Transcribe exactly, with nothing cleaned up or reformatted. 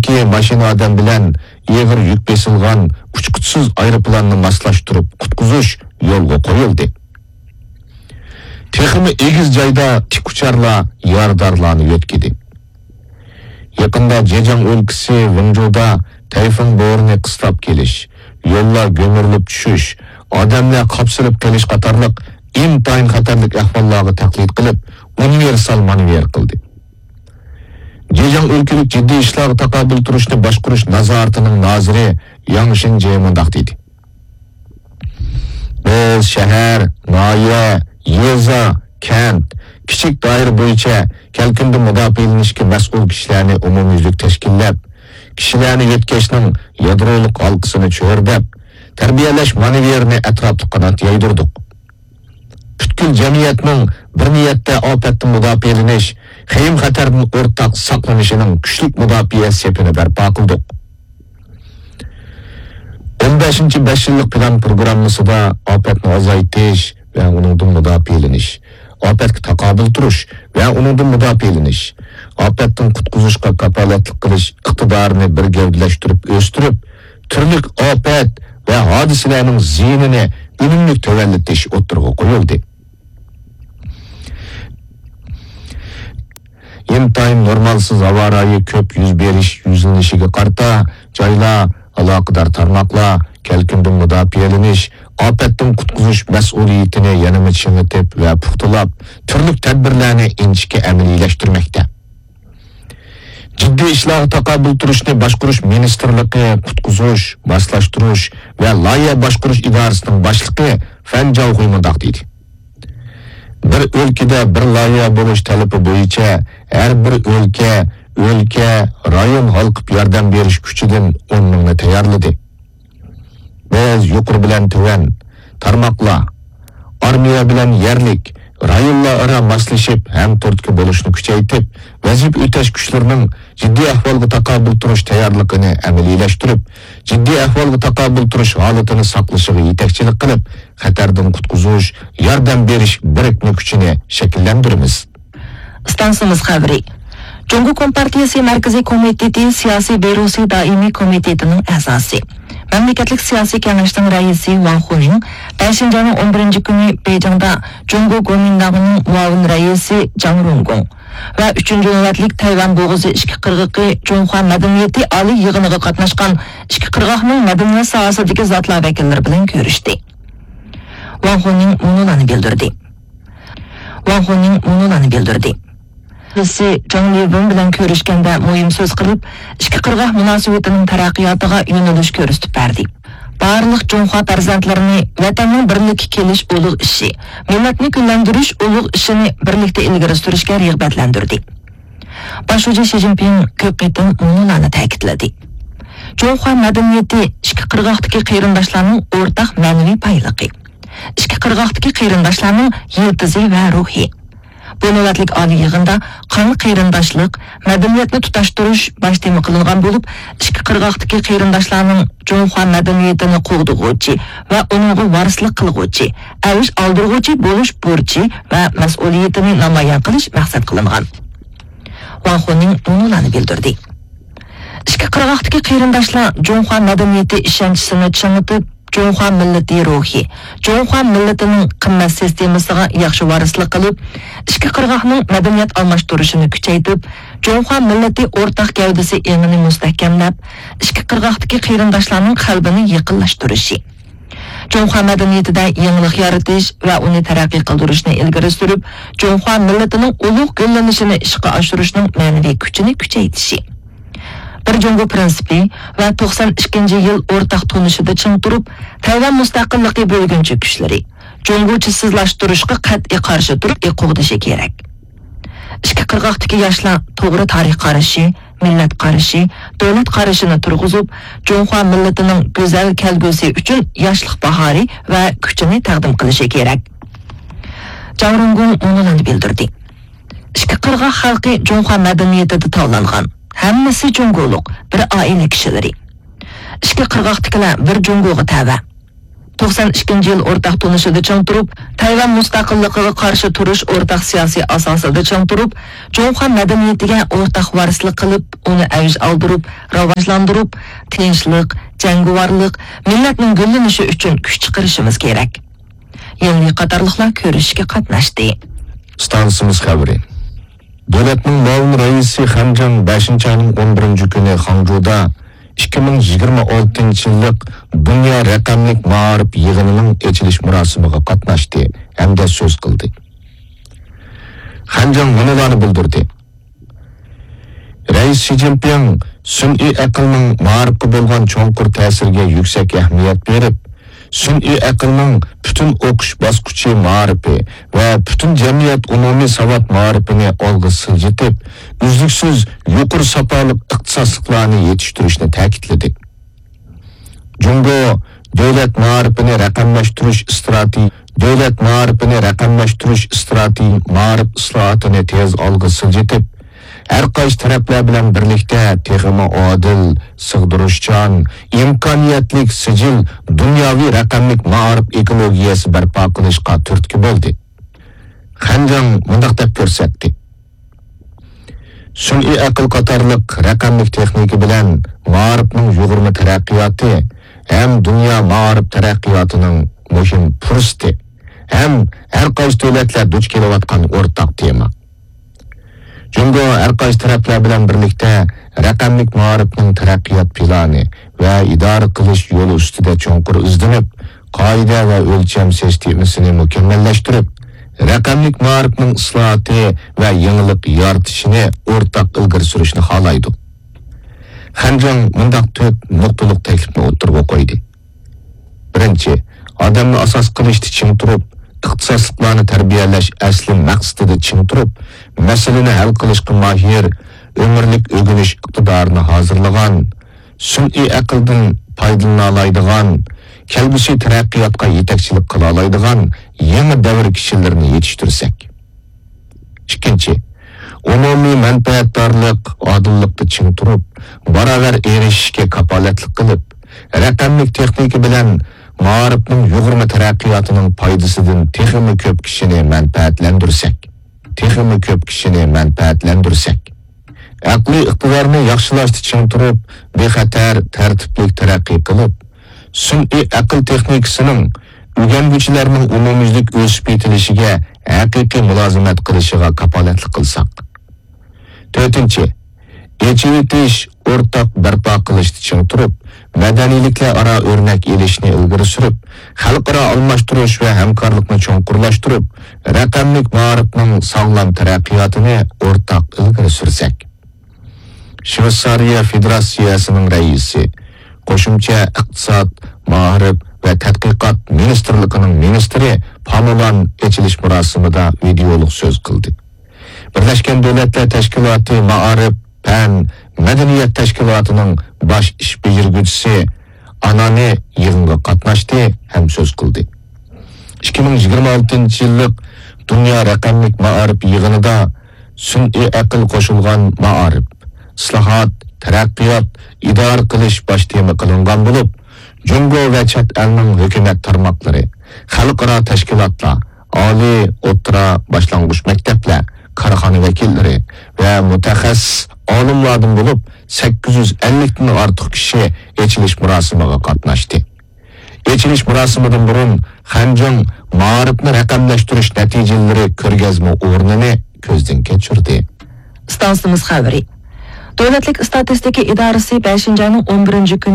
ئىككى ماشىنا ئادەم بىلەن ئېغىر يۈك بېسىلغان ئۇچقۇچىسىز ئايروپىلاننى ماسلاشتۇرۇپ قۇتقۇزۇش يولغا قويۇلدى. تېخىمۇ ئېگىز جايدا تىك ئۇچارلار يارىدارلارنى يۆتكىدى. يېقىندا جېجياڭ ئۆلكىسى ۋېڭجۇدا تەيفۇن بورىنى قىستاپ كېلىش، يوللار گۈمۈرۈلۈپ چۈشۈش، ئادەملەر قاپسىلىپ قېلىش قاتارلىق ئىنتايىن خەتەرلىك ئەھۋاللارغا تەقلىد قىلىپ، ئۇنىۋېرسال مانېۋىر قىلدى. جېجياڭ ئۆلكىلىك جىددىي ئىشلارغا تاقابىل تۇرۇشنى باشقۇرۇش نازارىتىنىڭ نازىرى ياڭ شىنجې مۇنداق دېدى: بىز شەھەر، ناھىيە، يېزا، كەنت، كىچىك دائىرە بويىچە كەلكۈندىن مۇداپىئەلىنىشكە مەسئۇل كىشىلەرنى ئومۇميۈزلۈك تەشكىللەپ، كىشىلەرنى يۆتكەشنىڭ يادرولۇق ھالقىسىنى چۆرىدەپ، تەربىيەلەش مانېۋىرىنى ئەتراپلىق قانات يايدۇردۇق. پۈتكۈل جەمئىيەتنىڭ بىر نىيەتتە ئاپەتتىن مۇداپىئەلىنىش، خېيىم-خەتەردىن ئورتاق ساقلىنىشىنىڭ كۈچلۈك مۇداپىئە سېپىنى بەرپا قىلدۇق. ئون بەشىنچى بەش يىللىق پىلان پروگراممىسىدا ئاپەتنى ئازايتىش ۋە ئۇنىڭدىن مۇداپىئەلىنىش، ئاپەتكە تاقابىل تۇرۇش ۋە ئۇنىڭدىن مۇداپىئەلىنىش، ئاپەتتىن قۇتقۇزۇشقا كاپالەتلىك قىلىش ئىقتىدارىنى بىر گەۋدىلەشتۈرۈپ ئۆستۈرۈپ، تۈرلۈك ئاپەت ۋە ھادىسىلەرنىڭ زىيىنىنى ئۈنۈملۈك تۆۋەنلىتىش ئوتتۇرىغا قويۇلدى. ئىنتايىن نورمالسىز ھاۋا رايى كۆپ يۈز بېرىش يۈزلىنىشىگە قارىتا، جايلار، ئالاقىدار تارماقلار كەلكۈندىن مۇداپىئەلىنىش، ئاپەتتىن قۇتقۇزۇش مەسئۇلىيىتىنى يەنىمۇ چىڭىتىپ ۋە پۇختىلاپ، تۈرلۈك تەدبىرلەرنى ئىنچىكە ئەمەلىيلەشتۈرمەكتە. جىددىي ئىشلارغا تاقابىل تۇرۇشنى باشقۇرۇش مىنىستىرلىقى قۇتقۇزۇش، ماسلاشتۇرۇش ۋە لايىھە باشقۇرۇش ئىدارىسىنىڭ باشلىقى فەن جاۋخۇي مۇنداق دېدى: بىر ئۆلكىدە بىر لايىھە بولۇش تەلىپى بويىچە ھەر بىر ئۆلكە، ئۆلكە، رايون ھالقىپ ياردەم بېرىش كۈچىدىن ئون مىڭنى تەييارلىدى. بىز يۇقىرى بىلەن تۆۋەن، تارماقلار، ئارمىيە بىلەن يەرلىك، رايونلار ئارا ماسلىشىپ، ھەمتۈرتكە بولۇشنى كۈچەيتىپ، ۋەزىپە ئۆتەش كۈچلىرىنىڭ جىددىي ئەھۋالغا تاقابىل تۇرۇش تەييارلىقىنى ئەمەلىيلەشتۈرۈپ، جىددىي ئەھۋالغا تاقابىل تۇرۇش ھالىتىنى ساقلىشىغا يېتەكچىلىك قىلىپ، خەتەردىن قۇتقۇزۇش، ياردەم بېرىش بىرىكمە كۈچىنى شەكىللەندۈرىمىز. ئىستانسىمىز خەۋىرى. جۇڭگو كومپارتىيىسى مەركىزىي كومىتېتى سىياسىي بيۇروسى دائىمىي كومىتېتىنىڭ ئەزاسى، مەملىكەتلىك سىياسىي كېڭەشنىڭ رەئىسى ۋاڭ خۇنىڭ بەشىنچى ئاينىڭ ئون بىرىنچى كۈنى بېيجىڭدا جۇڭگو گومىنداڭىنىڭ مۇئاۋىن رەئىسى جاڭ رۇڭگوڭ ۋە ئۈچىنچى نۆۋەتلىك تەيۋەن بوغۇزى ئىچكى قىرغىقى جۇڭخۇا مەدەنىيىتى ئالىي يىغىنىغا قاتناشقان ئىچكى قىرغاقنىڭ مەدەنىيەت ساھەسىدىكى زاتلار ۋەكىللىرى بىلەن كۆرۈشتى. ۋاڭ خۇنىڭ مۇنۇلارنى بىلدۈردى. ۋاڭ خۇنىڭ مۇنۇلارنى بىلدۈردى. رەئىسى جاڭ لىۋېن بىلەن كۆرۈشكەندە مۇھىم سۆز قىلىپ، ئىككى قىرغاق مۇناسىۋىتىنىڭ تەرەققىياتىغا يۆنىلىش كۆرسىتىپ بەردى. بارلىق جۇڭخۇا پەرزەنتلىرىنى ۋەتەننىڭ بىرلىككە كېلىش ئۇلۇغ ئىشى، مىللەتنى گۈللەندۈرۈش ئۇلۇغ ئىشىنى بىرلىكتە ئىلگىرى سۈرۈشكە رىغبەتلەندۈردى. باش شۇجى شى جىنپىڭ كۆپ قېتىم مۇنۇلارنى تەكىتلىدى: جۇڭخۇا مەدەنىيىتى ئىككى قىرغاقتىكى قېرىنداشلارنىڭ ئورتاق مەنىۋى بايلىقى، ئىككى قىرغاقتىكى قېرىنداشلارنىڭ يىلتىزى ۋە روھى. بۇ نۆۋەتلىك ئالىي يىغىندا قان قېرىنداشلىق، مەدەنىيەتنى تۇتاشتۇرۇش باش تېما قىلىنغان بولۇپ، ئىككى قىرغاقتىكى قېرىنداشلارنىڭ جۇڭخۇا مەدەنىيىتىنى قوغدىغۇچى ۋە ئۇنىڭغا ۋارىسلىق قىلغۇچى، ئەۋج ئالدۇرغۇچى بولۇش بۇرچى ۋە مەسئۇلىيىتىنى نامايان قىلىش مەقسەت قىلىنغان. ۋاڭ خۇنىڭ مۇنۇلارنى بىلدۈردى: ئىككى قىرغاقتىكى قېرىنداشلار جۇڭخۇا مەدەنىيىتى ئىشەنچىسىنى چىڭىتىپ، جۇڭخۇا مىللىتى روھى، جۇڭخۇا مىللىتىنىڭ قىممەت سىستېمىسىغا ياخشى ۋارىسلىق قىلىپ، ئىككى قىرغاقنىڭ مەدەنىيەت ئالماشتۇرۇشىنى كۈچەيتىپ، جۇڭخۇا مىللىتى ئورتاق گەۋدىسى ئېڭىنى مۇستەھكەملەپ، ئىككى قىرغاقتىكى قېرىنداشلارنىڭ قەلبىنى يېقىنلاشتۇرۇشى، جۇڭخۇا مەدەنىيىتىدە يېڭىلىق يارىتىش ۋە ئۇنى تەرەققىي قىلدۇرۇشنى ئىلگىرى سۈرۈپ، جۇڭخۇا مىللىتىنىڭ ئۇلۇغ گۈللىنىشىنى ئىشقا ئاشۇرۇشنىڭ مەنىۋى كۈچىنى كۈچەيتىشى، بىر جۇڭگو پىرىنسىپى ۋە توقسان ئىككىنچى يىل ئورتاق تونۇشىدا چىڭ تۇرۇپ، تەيۋەن مۇستەقىللىقى بۆلگۈنچى كۈچلىرى، جۇڭگوچىسىزلاشتۇرۇشقا قەتئىي قارشى تۇرۇپ قوغدىشى كېرەك. ئىككى قىرغاقتىكى ياشلار توغرا تارىخ قارىشى، مىللەت قارىشى، دۆلەت قارىشىنى تۇرغۇزۇپ، جۇڭخۇا مىللىتىنىڭ گۈزەل كەلگۈسى ئۈچۈن ياشلىق باھارى ۋە كۈچىنى تەقدىم قىلىشى كېرەك. جاڭ رۇڭگوڭ مۇنۇلارنى بىلدۈردى: ئىككى قىرغاق خەلقى جۇڭخۇا مەدەنىيىتىدە تاۋلانغان، ھەممىسى جۇڭگولۇق، بىر ئائىلە كىشىلىرى. ئىككى قىرغاقتىكىلەر بىر جۇڭگوغا تەۋە. توقسان ئىككىنچى يىل ئورتاق تونۇشىدا چىڭ تۇرۇپ، تەيۋەن مۇستەقىللىقىغا قارشى تۇرۇش ئورتاق سىياسىي ئاساسىدا چىڭ تۇرۇپ، جۇڭخۇا مەدەنىيىتىگە ئورتاق ۋارىسلىق قىلىپ، ئۇنى ئەۋج ئالدۇرۇپ، راۋاجلاندۇرۇپ، تىنچلىق، جەڭگىۋارلىق، مىللەتنىڭ گۈللىنىشى ئۈچۈن كۈچ چىقىرىشىمىز كېرەك. يىلنى قاتارلىقلار كۆرۈشۈشكە قاتناشتى. ئىستانسىمىز خەۋىرى. دۆلەتنىڭ مۇئاۋىن رەئىسى خەنجاڭ بەشىنچى ئاينىڭ ئون بىرىنچى كۈنى خاڭجۇدا ئىككى مىڭ يىگىرمە ئالتىنچى يىللىق دۇنيا رەقەملىك مائارىپ يىغىنىنىڭ ئېچىلىش مۇراسىمىغا قاتناشتى ھەمدە سۆز قىلدى. خەنجاڭ مۇنۇلارنى بىلدۈردى. رەئىس شى جىنپىڭ سۈنئىي ئەقىلنىڭ مائارىپقا بولغان چوڭقۇر تەسىرىگە يۈكسەك ئەھمىيەت بېرىپ، سۈنئىي ئەقىلنىڭ پۈتۈن ئوقۇش باسقۇچى مائارىپى ۋە پۈتۈن جەمئىيەت ئومۇمىي ساۋات مائارىپىنى ئالغا سىلجىتىپ، ئۈزلۈكسىز يۇقىرى ساپالىق ئىختىساسلىقلارنى يېتىشتۈرۈشنى تەكىتلىدى. جۇڭگو دۆلەت مائارىپىنى رەقەملەشتۈرۈش ئىستراتېگىيە، دۆلەت مائارىپىنى رەقەملەشتۈرۈش ئىستراتېگىيە مائارىپ ئىسلاھاتىنى تېز ئالغا سىلجىتىپ، ھەر قايسى تەرەپلەر بىلەن بىرلىكتە تېخىمۇ ئادىل، سىغدۇرۇشچان، ئىمكانىيەتلىك سىجىل دۇنياۋى رەقەملىك مائارىپ ئېكولوگىيەسى بەرپا قىلىشقا تۈرتكە بولدى. خەنجاڭ مۇنداق دەپ كۆرسەتتى. سۈنئىي ئەقىل قاتارلىق رەقەملىك تېخنىكا بىلەن مائارىپنىڭ يۇغۇرما تەرەققىياتى ھەم دۇنيا مائارىپ تەرەققىياتىنىڭ مۇھىم پۇرسىتى ھەم ھەر قايسى دۆلەتلەر دۇچ كېلىۋاتقان ئورتاق تېما. جۇڭگو ھەر قايسى تەرەپلەر بىلەن بىرلىكتە رەقەملىك مائارىپنىڭ تەرەققىيات پىلانى ۋە ئىدارە قىلىش يولى ئۈستىدە چوڭقۇر ئىزدىنىپ، قائىدە ۋە ئۆلچەم سىستېمىسىنى مۇكەممەللەشتۈرۈپ، رەقەملىك مائارىپنىڭ ئىسلاھاتى ۋە يېڭىلىق يارىتىشىنى ئورتاق ئىلگىرى سۈرۈشنى خالايدۇ. خەنجاڭ مۇنداق تۆت نۇقتىلىق تەكلىپنى ئوتتۇرىغا قويدى. بىرىنچى، ئادەمنى ئاساس قىلىشتا چىڭ تۇرۇپ، ئىختىساسلىقلارنى تەربىيەلەش ئەسلى مەقسىتىدە چىڭ تۇرۇپ، مەسىلىنى ھەل قىلىشقا ماھىر، ئۆمۈرلۈك ئۆگىنىش ئىقتىدارىنى ھازىرلىغان، سۈنئىي ئەقىلدىن پايدىلىنالايدىغان، كەلگۈسى تەرەققىياتقا يېتەكچىلىك قىلالايدىغان يېڭى دەۋر كىشىلىرىنى يېتىشتۈرسەك. ئىككىنچى، ئومۇمىي مەنپەئەتدارلىق، ئادىللىقتا چىڭ تۇرۇپ، باراۋەر ئېرىشىشكە كاپالەتلىك قىلىپ، رەقەملىك تېخنىكا بىلەن مائارىپنىڭ يۇغۇرما تەرەققىياتىنىڭ پايدىسىدىن تېخىمۇ كۆپ كىشىنى مەنپەئەتلەندۈرسەك، تېخىمۇ كۆپ كىشىنى مەنپەئەتلەندۈرسەك. ئەقلىي ئىقتىدارنى ياخشىلاشتا چىڭ تۇرۇپ، بىخەتەر، تەرتىپلىك تەرەققىي قىلىپ، سۈنئىي ئەقىل تېخنىكىسىنىڭ ئۆگەنگۈچىلەرنىڭ ئومۇميۈزلۈك ئۆسۈپ يېتىلىشىگە ھەقىقىي مۇلازىمەت قىلىشىغا كاپالەتلىك قىلساق. تۆتىنچى، ئېچىۋېتىش، ئورتاق بەرپا قىلىشتا چىڭ تۇرۇپ، مەدەنىيلىكلەر ئارا ئۆرنەك ئېلىشنى ئىلگىرى سۈرۈپ، خەلقئارا ئالماشتۇرۇش ۋە ھەمكارلىقنى چوڭقۇرلاشتۇرۇپ، رەقەملىك مائارىپنىڭ ساغلام تەرەققىياتىنى ئورتاق ئىلگىرى سۈرسەك. شۋېتسارىيە فېدېراتسىيەسىنىڭ رەئىسى، قوشۇمچە ئىقتىساد، مائارىپ ۋە تەتقىقات مىنىستىرلىقىنىڭ مىنىستىرى پامولان ئېچىلىش مۇراسىمىدا ۋىدېئولۇق سۆز قىلدى. بىرلەشكەن دۆلەتلەر تەشكىلاتى مائارىپ، پەن، مەدەنىيەت تەشكىلاتىنىڭ باش ئىش بېجىرگۈچىسى ئانانى يىغىنغا قاتناشتى ھەم سۆز قىلدى. ئىككى مىڭ يىگىرمە ئالتىنچى يىللىق دۇنيا رەقەملىك مائارىپ يىغىنىدا سۈنئىي ئەقىل قوشۇلغان مائارىپ، ئىسلاھات، تەرەققىيات، ئىدارە قىلىش باش تېما قىلىنغان بولۇپ، جۇڭگو ۋە چەت ئەلنىڭ ھۆكۈمەت تارماقلىرى، خەلقئارا تەشكىلاتلار، ئالىي، ئوتتۇرا، باشلانغۇچ مەكتەپلەر، كارخانا ۋەكىللىرى ۋە مۇتەخەسسىس ئالىملاردىن بولۇپ سەككىز يۈز ئەللىكتىن ئارتۇق كىشى ئېچىلىش مۇراسىمىغا قاتناشتى. ئېچىلىش مۇراسىمىدىن بۇرۇن خەنجىڭ مائارىپنى رەقەملەشتۈرۈش نەتىجىلىرى كۆرگەزمە ئورنىنى كۆزدىن كەچۈردى. ئىستانسىمىز خەۋىرى. دۆلەتلىك ئىستاتىستىكا ئىدارىسى بەشىنچى ئاينىڭ ئون بىرىنچى كۈنى